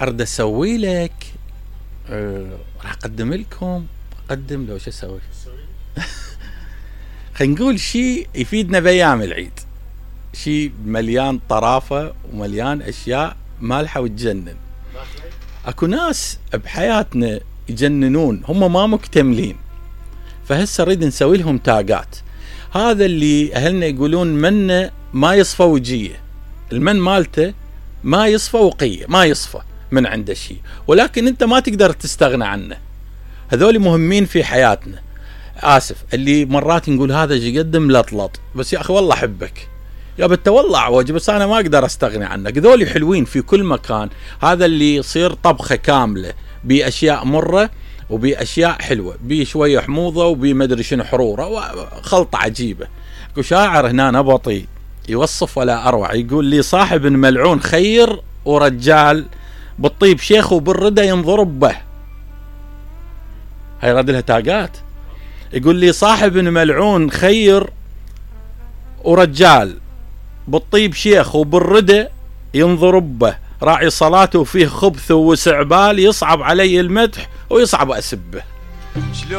ارد اسوي لك راح اقدم لكم اقدم لو شو اسوي خلينا نقول شيء يفيدنا بايام العيد، شيء مليان طرافه ومليان اشياء مالحه وتجنن. اكو ناس بحياتنا يجننون، هم ما مكتملين، فهسه نريد نسوي لهم تاجات. هذا اللي اهلنا يقولون منه ما يصفى وجيه، المن مالته ما يصفى وقيه، ما يصفى من عنده شيء، ولكن انت ما تقدر تستغنى عنه. هذول مهمين في حياتنا. اسف اللي مرات نقول هذا ايش يقدم لطلط، بس يا اخي والله احبك يا بت والله عوج، بس انا ما اقدر استغني عنك. ذولي حلوين في كل مكان. هذا اللي يصير طبخه كامله باشياء مره وباشياء حلوه، بشويه حموضه وبمدري شنو حروره، خلطه عجيبه. اكو شاعر هنا نبطي يوصف ولا اروع، يقول لي صاحب ملعون خير ورجال، بالطيب شيخ وبالردى ينضرب به. هاي رد لها تاجات. يقول لي صاحب ملعون خير ورجال، بالطيب شيخ وبالردى ينضرب به، راعي صلاته وفيه خبث وسعبال، يصعب علي المدح ويصعب اسبه.